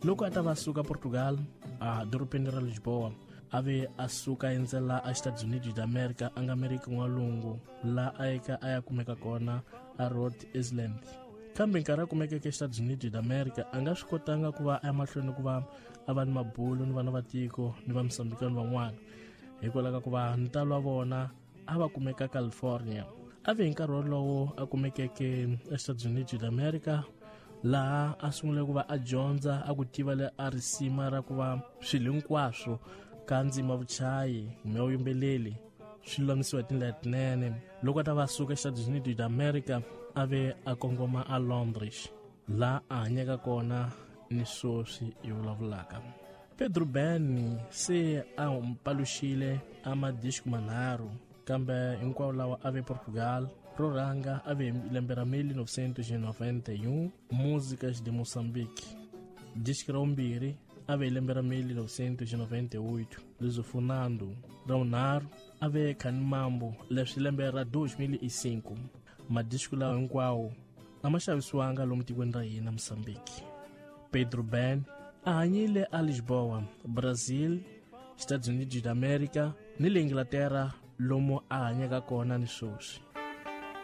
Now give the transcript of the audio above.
Loko a ta va suka Portugal a dorobeni ra Lisboa, a ve a suka endzela a Estados Unidos da America, a nga Amerika N'walungu, laha a yeka a ya kumeka kona a Rhode Island. Kambe nkarhi a kumekeke Estados Unidos da America, a nga swi kotanga ku va a ya mahlweni ku va a va ni mabulo ni vana va tiko ni va Mosambikani van'wana, hikwalaho ka ku va ntalo wa vona a va kumeka California. A ve hi nkarhi wolowo a kumekeke Estados Unidos da America, laha a sungule ku va a dyondza a ku tiva le a risima ra ku va swilo hinkwaswo ka ndzima vuchayi kumbe vuyimbeleli swi lulamisiwa hi tindlela tinene. Loko a ta va suka Estados Unidos da America, a ve a kongoma a Londres, laha a hanyaka kona ni sweswi hi vulavulaka. Pedro Ben se a paluxile a madisco manharhu, kambe hinkwawo lawa a ve Portugal. Ro rhanga a ve lembe ra 1991, Músicas de Moçambique. Disco ra vumbirhi a ve lembe ra 1998, Lusofonando. Ra vunharhu a ve Khanimambo, leswi lembe ra 2005. Madisco lawa hinkwawo a ma xavisiwanga lomu tikweni ra hina Mozambique. Pedro Ben a hanyile a Lisboa, Brazil, Estados Unidos da America ni le Inglaterra, lomu a hanyaka kona ni sweswi.